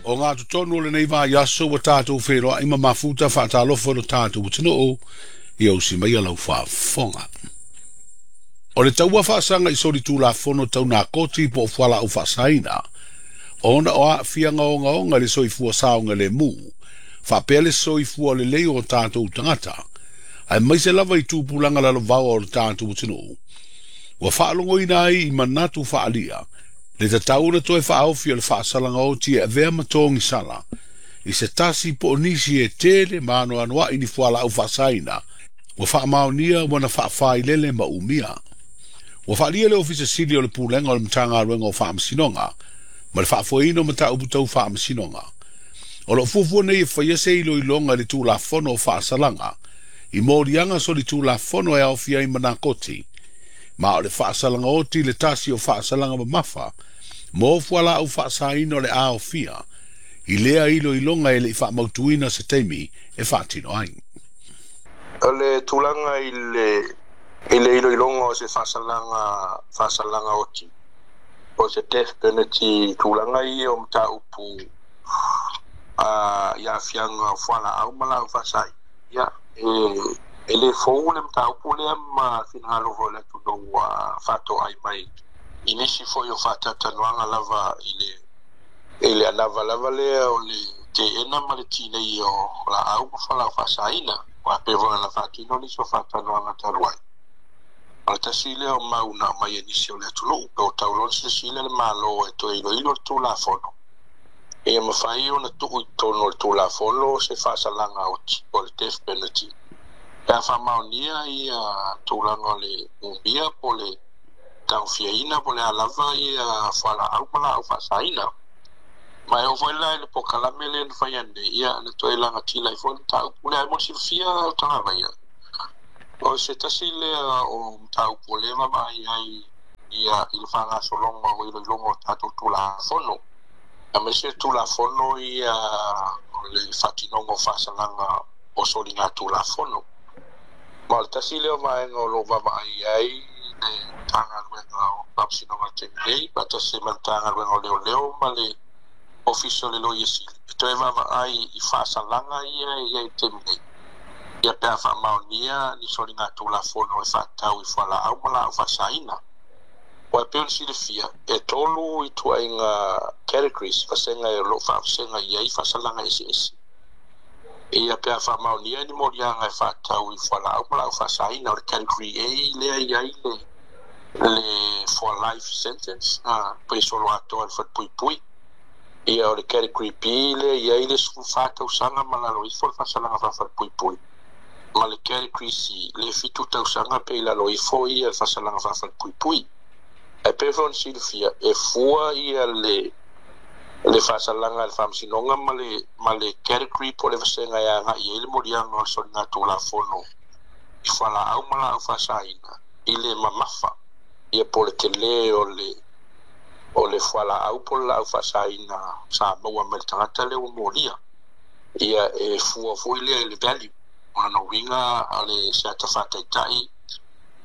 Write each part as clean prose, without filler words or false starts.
O ngā totonu o lenei vaiaso ua tātou wheroa i ma mafuta whaatalofo lo tātou atunuu ia usi mai lau faafofoga. O le taua faasaga i soli tulafono tau nakoti po o fualaau faasaina, ona o aafiaga ogaoga i le soifua saogalemu, faapea le soifua lelei o tatou tagata, aemaise lava i tupulaga lalovaoa o le tatou atunuu. Ua faalogoina ai i manatu faaalia, le tatau ona toe faaofi o le faasalaga oti e avea ma togisala, i se tasi po o nisi e tele ma anoanoai ni fualaau faasaina, ua faamaonia ua na faafailele ma umia. Ua faalia le Ofisa Sili o le Pulega o le Matagaluega o Faamasinoga, ma le faafoeina o mataupu tau faamasinoga. O loo fuafua nei e faia se iloiloga i le Tulafono o Faasalaga, i moliaga solitulafono e aofia ai ma nakoti, ma o le faasalaga oti le tasi o faasalaga mamafa, mo fualaau faasaina o le aofia, i lea iloiloga e lei faamautuina se taimi e faatino ai. O le tulaga i le iloiloga o se faasalaga oti, o se death penalty, tulaga ia o mataupu i aafiaga o fualaau ma laau faasai. Ia, e le fou le mataupu lea ma finagalo foi o le atunuu ua faatoai mai i nisi foi o faatautanoaga lava i le anava lava lea o le teena ma le tinei o laau ma fualaau faasaina. Ua pei foi ona faatino nisi o faatanoaga talu ai. O le tasi lea o mau na aumai e nisi o le atunuu, pe o tau loa silasila le Malo e toe iloilo le Tulafono, ia mafai ona tuu i totonu o le Tulafono se faasalaga oti o le death penalty. Pe a faamaonia ia tulaga o le umia po o le taofiaina po o le a lava ia fualaau ma laau faasaina. Ma e oo foi la i le polokalame lea na faia nei, ia na toe lagatila ai foi le mataupu lea. Ae mo le silafia o tagavaia, o se tasi lea o mataupu o lea vaavaai ai ia i le faagasologa o iloiloga o tatou Tulafono, aemaise Tulafono ia o le faatinoga o faasalaga o soliga Tulafono. Ma o le tasi lea o vaega o lo o vaavaai ai le Matagaluega o Faamasinoga i le taimi nei, faatasi ma le Matagaluega o Leoleo ma le Ofisa o le Loia Sili, e toe vaavaai i faasalaga ia e i ai i le taimi nei, ia pe a faamaonia ni soliga Tulafono e faatatau i fualaau ma laau faasaina. Ua e pei ona silafia, e 3 ituaiga categories, vasega o lo o faavasega i ai faasalaga eseese. Ia pe a faamaonia ni moliaga e faatatau i fualaau ma laau faasaina, o le category A lea e i ai le for life sentence, pe solo atoa le falepuipui. Ia o le category B lea e i ai le 14 tausaga ma lalo ifo le faasalaga faafalepuipui. Ma le category C le 7 tausaga pe i lalo ifo ia le faasalaga faafalepuipui. Ae pei foi ona silafia, e fua ia le faasalaga a le Faamasinoga ma le category po o le vasega e agai ai le moliaga o le soliga Tulafono i fualaau ma laau faasaina i le mamafa, ia po o le tele o le fualaau po o le laau faasaina sa maua mai le tagata lea ua molia. Ia e fua foi lea i le value. O lona uiga o le se ata faataitai,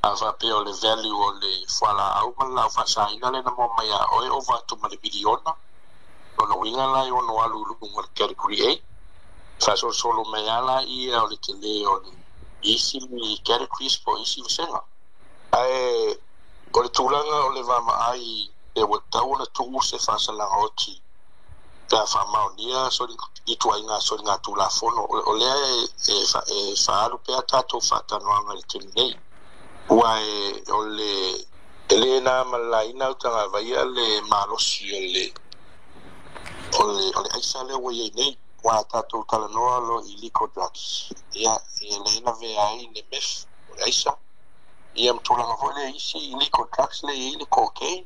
a faapea o le value o le fualaau ma le laau faasaina lea na maua mai ia oe ova atu ma le miliona, lona uiga la e ono alu i luga o le category A. Faasolosolo mai lava laia o le tele o le isi categories po o isi vasega. Ae o le tulaga o le vaavaai e ua tatau ona tuu se faasalaga oti pe a faamaonia ituaiga soliga Tulafono, o lea e faaalu pea tatou faatanoaga i le taimi nei. Ua o le e le na ma le laina o tagavaia le malosi o le aisa lea ua i ai nei. Ua tatou talanoa lo illegal drugs, ia e le lavea ai le meth o le aisa, ia ma tulaga foi lea isi illegal drugs lea e i ai le cocaine,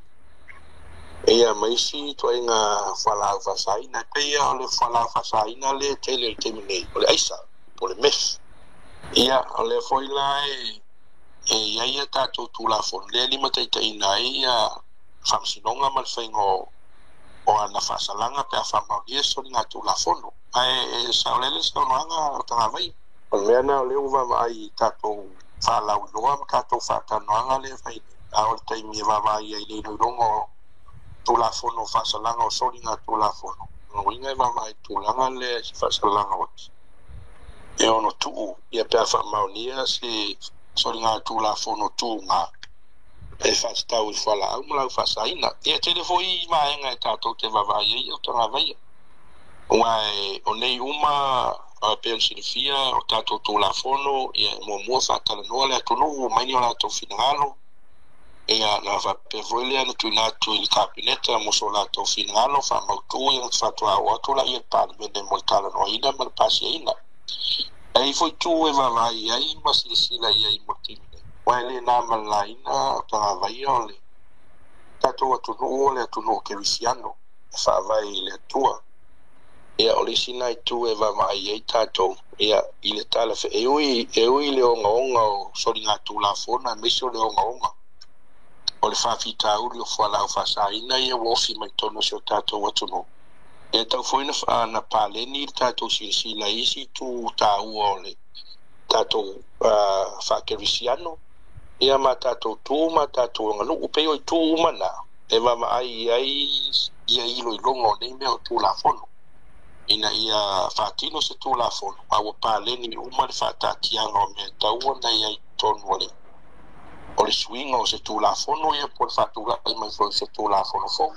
ia ma isi ituaiga fualaau faasaina. E pei o le fualaau faasaina lea e tele i le taimi nei o le aisa po o le meth. Ia o lea foi la e i ai a tatou Tulafono lea e limataitaiina ai ia Faamasinoga ma le faiga o ana faasalaga pe a faamaonia soliga Tulafono. Ae e saolele le saunoaga o tagavai. O le mea lena o lea ua vaavaai i tatou faalauiloa ma tatou faatanoaga lea e fai nei. A o le taimi e vaavaai ai i le iloiloga o Tulafono o faasalaga o soliga Tulafono, Uiga e vaavaai tulaga lea i se faasalaga oti e ono tuu ia pe a faamaonia se soligatulafono tuga e faatatau i fualaau ma laufaasaina. Ia tele foi vaega e tatou te vaavaai ai o tagavaia ua o nei uma pe ona silafia o tatou tulafono. Ia muamua faatalanoa le atunuu mai ni o latou finagalo. Ia na faapea foi lea na tuuina atu i le Kapeneta mo so latou finagalo faamautu. Ia na faatoa oo atu laia i le Palemene mo le talanoaina ma le pasiaina. Ai foi tu e vaavaai ai ma silasila i ai mo le taimi nei, ua e le na ma le laina o tagavaia o le tatou atunuu o le atunuu kerisiano e faavae i le Atua. Ia o le isi na itu e vaavaai ai tatou ia i le tala e ui le ogaoga o soligatulafono aemaise o le ogaoga o le faafitauli o fualaau faasaina ia ua ofi mai totonu o si o tatou atunuu. E tau foi na paleni le tatou silasila i isi itu taua o le tatou faakerisiano ia ma tatou tu ma tatou aganuu pei o itu uma na e vaavaai ai ia iloiloga o nei mea o tulafono ina ia faatino se tulafono a ua paleni uma le faataatiaga o mea tau ona i ai totonu o le suiga o se tulafono ia po o le faatulai mai foi o se tulafono fou.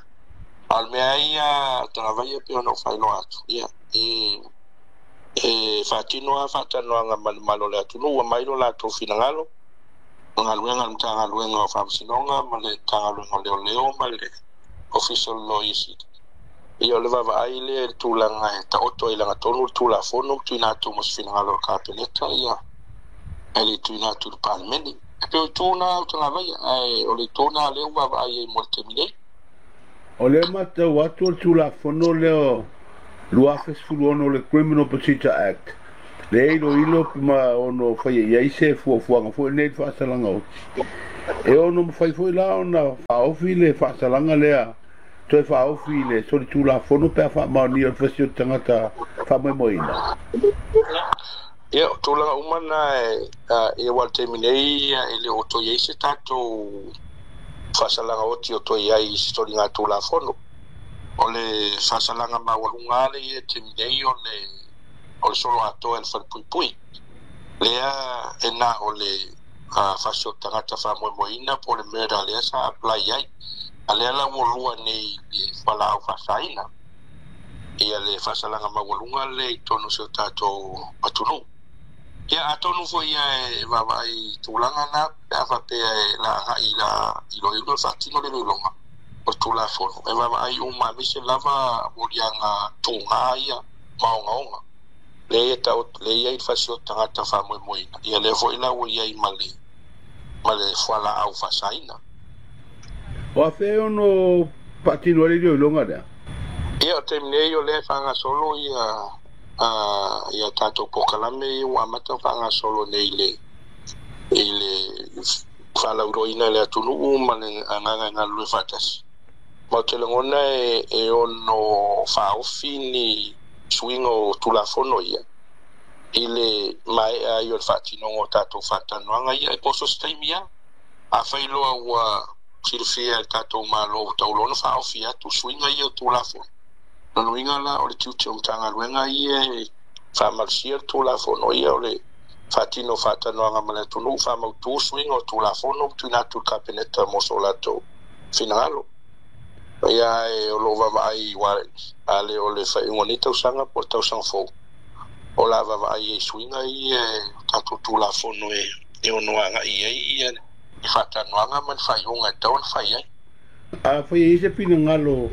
A o le mea ia tagavaia pe ona ou faailoa atu ia e faatino a faatalanoaga ma le malo o le atunuu ua mai lo latou finagalo galuega a le Matagaluega o Faamasinoga ma le Matagaluega o Leoleo ma le Ofisa o le Loia Sili. Ia o le vaavaai lea i le tulaga e taoto ai lagatonu le tulafono ma tuuina atu mo se finagalo o le Kapeneta ia e le tuuina atu i le Palemene. E pei o itu na o tagavaia ae o le itu na lea ua vaavaai ai mo le taimi nei. O lea matau atu o le tulafono lea 2016 le Criminal Procedure Act le iloilo ma ono faia i ai se fuafuaga foi nei le faasalaga oti. E ono mafai foi la ona faaofi le faasalaga lea toe faaofi le solitulafono pe a faamaonia o le fasi o le tagata faamoemoeina. Ia o tulaga uma na e ua le taimi nei e le o toe i ai se tatou faasalaga oti o toe i ai i se soligatulafono. O le faasalaga maualuga le ia taimi nei o le solo atoa e le falepuipui lea e na o le fasi o tagata faamoemoeina po o le murder lea sa apply ai. A lea la ua lua nei i fualaau faasaina ia le faasalaga maualuga le i totonu o si o tatou atunuu. Ia atonu foi ia e vaavaai tulaga na pe a faapea e la agai la iloilo le faatino le iloiloga o le tulafono e vaavaai uma aemaise lava moliaga tuga ia ma ogaoga lea e i ai le fasi o tagata faamoemoeina. Ia lea foi la ua i ai ma le fualaau faasaina. O afe ono faatino ai le iloiloga lea? Ia o taimi nei o lea e faagasolo ia tatou polokalame ia ua amata faagasolo nei i le faalauiloaina i le atunuu ma le agaga e galulue faatasi. Ma ou te lagona e ono faaofi ni suiga o tulafono ia i le maea ai o le faatinoga o tatou faatalanoaga ia e poso se taimi ia. Afai loa ua silafia e le tatou Malo ua tauloa ona faaofi atu suiga ia o tulafono. Lona uiga la o le tiute o Matagaluega ia e faamalosia le tulafono ia o le faatino faatalanoaga ma le atunuu faamautu suiga o tulafono ma tuuina atu i le Kapeneta mo so latou finagalo. Ia e o loo vaavaai a le o le faaiuga o nei tausaga po o le tausaga fou o la vaavaai ai suiga ia e tatou tulafono e ono agai ai ia i faatalanoaga ma le faaiuga e tatau ona fai ai. A fai ai se finagalo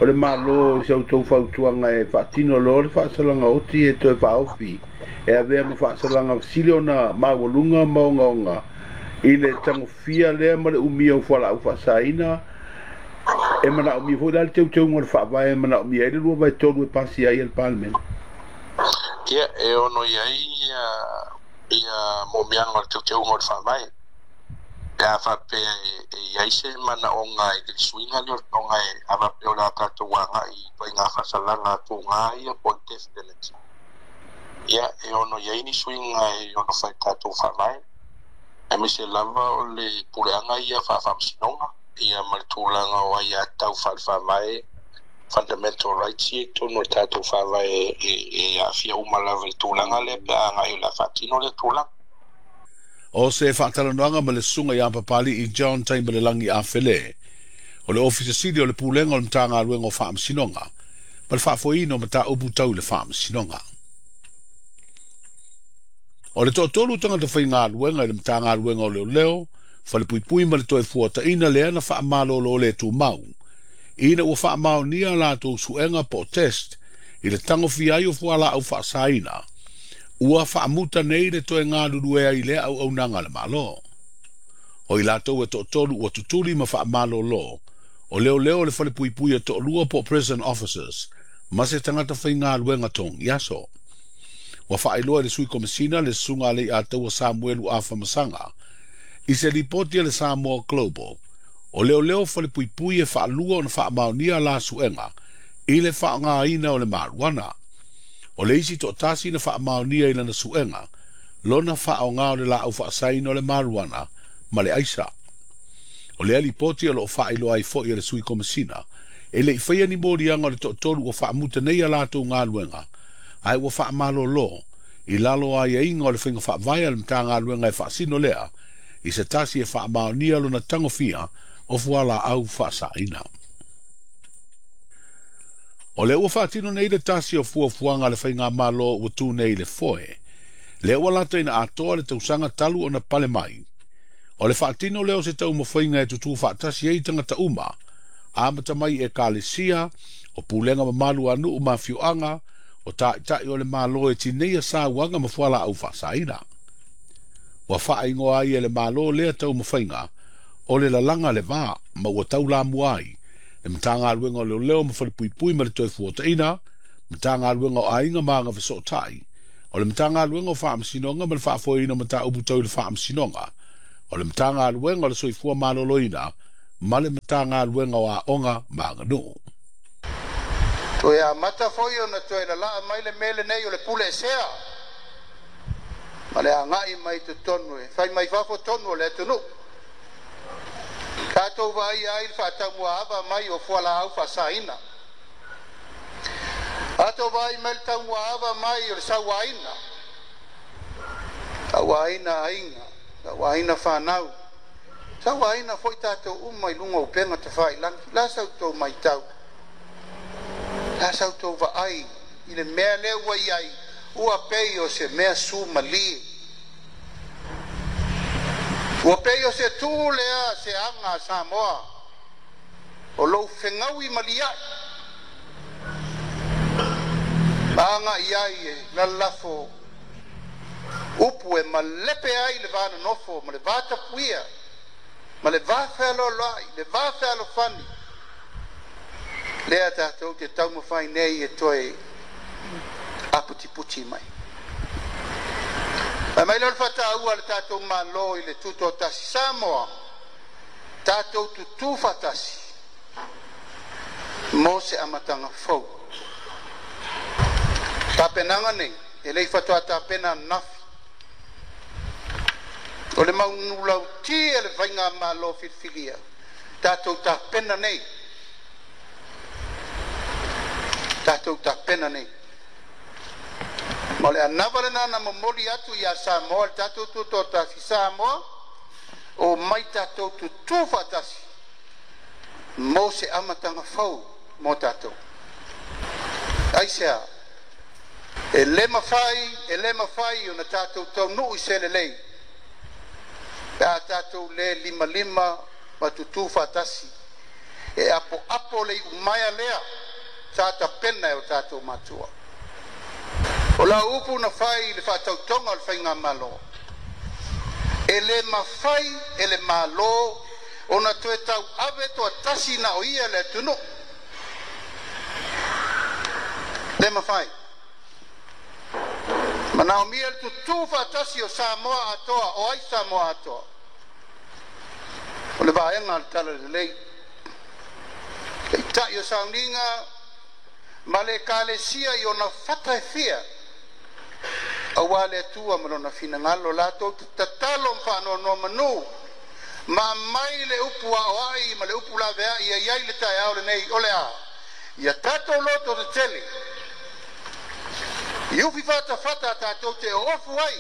o le Malo i sa outou fautuaga e faatino loa le faasalaga oti e toe faaofi e avea ma faasalaga sili ona maualuga ma ogaoga i le tagofia lea ma le umia o fualaau faasaina e manaomia foi la le teuteuga o le faavae e manaomia ai le 2/3 e pasia ai e le Palemene. Ia e ono i ai ia momiaga o le teuteuga o le faavae pe a faapea e i ai se manaoga i le suiga lea o le toga e a faapea o le a tatou agai i ituaiga faasalaga tuga ia po o le death penalty. Ia e ono i ai ni suiga e ono fai tatou faavae aemaise lava o le puleaga ia faafaamasinoga ia ma le tulaga o ai a tau faale-faavae Fundamental rights ia i totonu o le tatou Faavae e aafia uma lava i le tulaga lea pe a agai o le a faatino lea tulaga. O se faatalanoaga ma le Susuga ia Papali'i John Taimalelagi Afele, o le Ofisa Sili o le Pulega o le Matagaluega o Faamasinoga ma le Faafoeina o Mataupu Tau i le Faamasinoga. O le toatolu tagata faigaluega i le Matagaluega o Leoleo, Falepuipui ma le Toefuataiga lea na faamalolo le tumau, ina ua faamaonia a latou suega po o test i le tagofia ai o fualaau faasaina, ua faamuta nei le toe galulue ai i lea auaunaga a le Malo. O i latou e toatolu ua tutuli ma faamalolo, o leoleo o le falepuipui e toalua po o prison officers ma se tagata faigaluega togiaso. Ua faailoa e le Sui Komesina le Susuga a Leiataua Samuelu Afamasaga i se lipoti a le Samoa Global, o leoleo falepuipui e faalua ona faamaonia la suega i le faaaogaina o le marijuana. O le isi toatasi na faamaonia i lana suega lona faaaoga o le laau faasaina o le marijuana ma le aisa. O lea lipoti o loo faailoa ai foi e le Sui Komesina e le i faia ni moliaga o le toatolu ua faamuta nei a latou galuega, ae ua faamalolo i lalo o aiaiga o le faiga faavae a le Matagaluega e faasino lea i se tasi e faamaonia lona tagofia o fualaau faasaina. O lea ua faatino nei le tasi o fuafuaga a le faigamalo ua tu nei i le foe, lea ua lata ina atoa le tausaga talu ona pale mai. O le faatino lea o se taumafaiga e tutū faatasi ai tagata uma, amata mai i ekalesia, o pulega mamalu a nuu ma afioaga, o taitai o le Malo e tineia sauaga ma fualaau faasaina. Ua faaigoa ai e le Malo lea taumafaiga o le lalaga le va, ma ua taulamua ai le Matagaluega o Leoleo ma Falepuipui ma le Toefuataiga, Matagaluega o Aiga ma Agafesootai, o le Matagaluega o Faamasinoga ma le Faafoeina o Mataupu Tau i le Faamasinoga, o le Matagaluega o le Soifua Maloloina ma le Matagaluega o Aoga ma Aganuu. Toe amata foi ona toe lalaa mai le mea lenei o le pule esea ma le agai mai totonu e fai mai fafo tonu o le atunuu. Tatou vaaia ai le faataumuaava mai o fualaau faasaina. Tatou vaai mai le taumuaava mai o le sauaina, sauaina aiga, sauaina fanau, sauaina foi tatou uma i luga o upega tafailagi. La sa outou matau, la sa outou vaai i le mea lea ua i ai, ua pei o se mea sumalie. Ua pei o se tu lea se aga a Samoa o lou fegaui maliai ma agai ai e lalafo upu e malepe ai le va nonofo ma le va tapuia ma le va fealoaloai, le va fealofani lea tatou te taumafai nei e toe aputiputi mai. Fai mai lea o le faataua a le tatou Malo i le Tutoatasi Samoa, tatou tutū faatasi mo se amataga fou. Tapenaga nei e le i faatoa tapena ananafi. O le manulauti a le faigamalo filifilia, tatou tapena nei, tatou tapena nei. Ma o le anava lena na momoli atu ia Samoa le tatou Tutoatasi Samoa, o mai tatou tutū faatasi mo se amataga fou mo tatou. Aisea, e le mafai, e le mafai ona tatou taunuu i se lelei pe a tatou le limalima ma tutū faatasi e apoapo le iumaea lea sa tapena e o tatou matua. O lau upu na fai i le faatautoga o le faigamalo, e le mafai e le Malo ona toe tauave toatasi na o ia le atunuu. Le mafai. Manaomia le tutū faatasi o Samoa atoa, o ai Samoa atoa? O le vaega o le Talalelei, taitai o sauniga ma le ekalesia i ona fata e fia, aua le Atua ma lona finagalo latou te tatalo ma faanonomanu ma aumai le upu aoai ma le upu laveai e i ai le taeao lenei o le a Ia tatou loto tetele i ufi fatafata a tatou te oofu ai,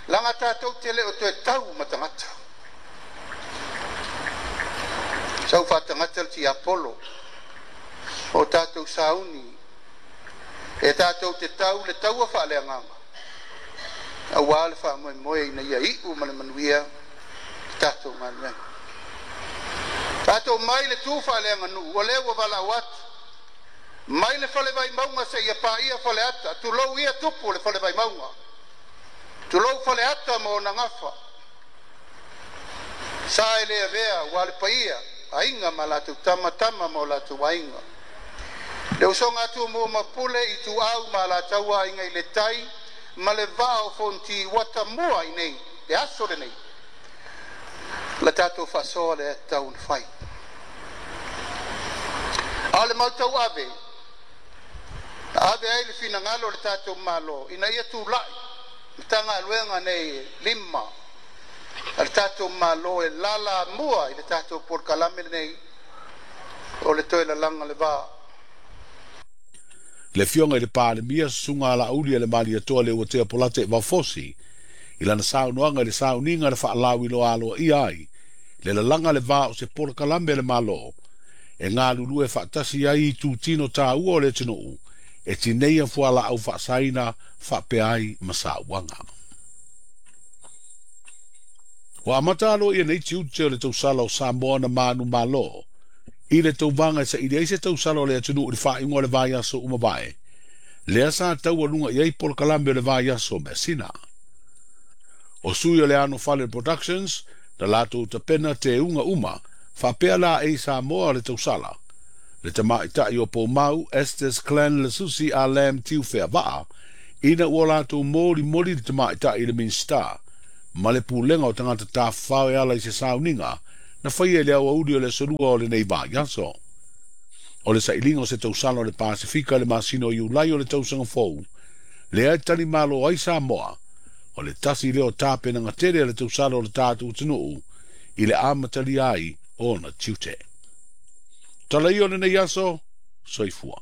laga tatou te le o toe tau ma tagata. Sau faatagata le tiapolo o tatou sauni e tatou te tau le taua faaleagaga auā le faamoemoe ina ia iu ma le manuia le tatou galuega. Tatou mai le tu faaleaganuu o lea ua valaau atu mai le fale Vaimauga seia paia Faleata. Tulou ia tupu o le fale Vaimauga, tulou Faleata ma ona gafa, sa e le avea ua le paia, aiga ma latou tama, tama ma o latou aiga. Le usoga a Tumua ma Pule, Ituau ma Alataua, Aiga i le Tai ma le Vaa o Fonoti ua tamua i nei le aso lenei. La tatou faasoa lea e tatau ona fai. A o le mau tauave na ave ai le finagalo o le tatou Malo ina ia tulai Matagaluega nei e 5 a le tatou Malo e lalamua i le tatou polokalame lenei o le toe lalaga le va. Le Afioga i le Palemia, Susuga Laauli a le Malietoa Leuatea Polataivao Fosi, i lana saunoaga i le sauniga na faalauiloa aloaia ai le lalaga le va o se polokalame a le Malo e galulue faatasi ai itutino taua o le atunuu e tineia fualaau faasaina faapea ai ma sauaga. Ua amata aloaia nei tiute o le tausala o Samoa na manumalo i le tauvaga e saili ai se tausala o le atunuu i le faaiuga o le vaiaso ua mavae, lea sa taualuga i ai polokalame o le vaiaso o Measina. O sui o le Anofale Productions na latou tapena teuga uma faapea laei Samoa o le tausala, le tamaitai o Poumau Estes Clan le Susi a Lam Tiufeavaa, ina ua latou molimoli le tamaitai i le Minisita ma le Pulega o Tagata Tafafao e ala i se sauniga na faia i le aoauli o le aso Lua o lenei vaiaso. O le sailiga o se tausala o le Pasefika i le masina o Iulai o le tausaga fou, lea e talimalo ai Samoa, o le tasi lea o tapenaga tele a le tausala o le tatou atunuu i le amatalia ai o ona tiute. Tala ia o lenei aso, soifua.